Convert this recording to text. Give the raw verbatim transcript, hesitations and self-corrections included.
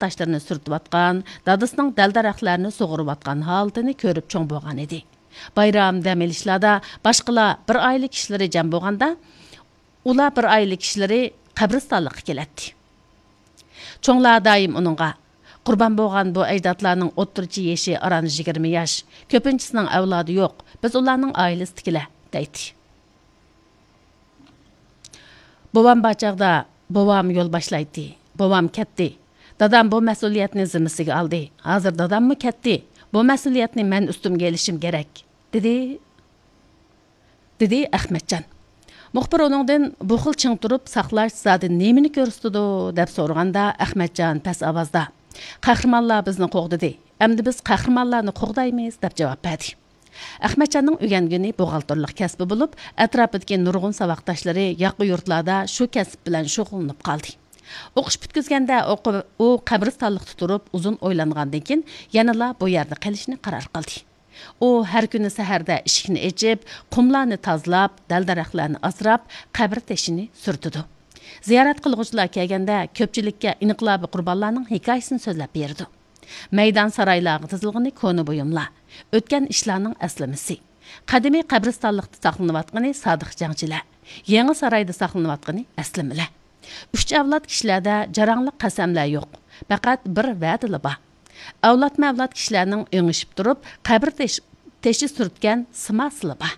تاشلىرىنى سۈرتۈۋاتقان، دادىسىنىڭ دەل-دەرەخلەرنى سۇغۇرۇۋاتقان ھالىتىنى كۆرۈپ چوڭ بولغان ئىدى. بايرام دەم ئېلىشلاردا باشقىلار بىر ئائىلە كىشىلىرى جەم بولغاندا، ئۇلار بىر ئائىلە كىشىلىرى قەبرىستانلىققا كېلەتتى. چوڭلار دائىم ئۇنىڭغا، «قۇربان بولغان بۇ ئەجدادلارنىڭ ئوتتۇرىچە يېشى ئاران يىگىرمە ياش، كۆپىنچىسىنىڭ ئەۋلادى يوق، بىز ئۇلارنىڭ ئائىلىسىدىكىلەر» دەيتتى. بوۋام بار چاغدا بوۋام يول باشلايتتى. بوۋام كەتتى. دادام بۇ مەسئۇلىيەتنى زىممىسىگە ئالدى. ھازىر داداممۇ كەتتى. بۇ مەسئۇلىيەتنى مەن ئۈستۈمگە ئېلىشىم كېرەك، دېدى، دېدى ئەخمەتجان. مۇخبىر ئۇنىڭدىن، «بۇ خىل چىڭ تۇرۇپ ساقلاش زادى نېمىنى كۆرسىتىدۇ؟» دەپ سورىغاندا، ئەخمەتجان پەس ئاۋازدا، «قەھرىمانلار بىزنى قوغدىدى. ئەمدى بىز قەھرىمانلارنى قوغدايمىز» دەپ جاۋاب بەردى. ئەخمەتجاننىڭ ئۆگەنگىنى بوغالتىرلىق كەسپى بولۇپ، ئەتراپىدىكى نۇرغۇن ساۋاقداشلىرى ياقا يۇرتلاردا شۇ كەسىپ بىلەن شۇغۇللىنىپ قالدى. ئوقۇش پۈتكۈزگەندە ئۇ قۇ-، ئۇ قەبرىستانلىقتا تۇرۇپ ئۇزۇن ئويلانغاندىن كېيىن، يەنىلا بۇ يەردە قېلىشنى قارار قىلدى. ئۇ ھەر كۈنى سەھەردە ئىشىكنى ئېچىپ، قۇملارنى تازىلاپ، دەل-دەرەخلەرنى ئاسراپ، قەبرە تېشىنى سۈرتىدۇ. زىيارەت قىلغۇچىلار كەلگەندە، كۆپچىلىككە ئىنقىلابىي قۇربانلارنىڭ ھېكايىسىنى سۆزلەپ بېرىدۇ. مەيدان سارايلارغا تىزىلغىنى كونا بۇيۇملار، ئۆتكەن ئىشلارنىڭ ئەسلىمىسى. قەدىمىي قەبرىستانلىقتا ساقلىنىۋاتقىنى سادىق جەڭچىلەر، يېڭى سارايدا ساقلىنىۋاتقىنى ئەسلىمىلەر. ئۈچ ئەۋلاد كىشىلەردە جاراڭلىق قەسەملەر يوق، پەقەت بىر ۋەدىلا بار. ئەۋلادمۇ ئەۋلاد كىشىلەرنىڭ ئېڭىشىپ تۇرۇپ، قەبرە تېش-، تېشى سۈرتكەن سىماسىلا بار.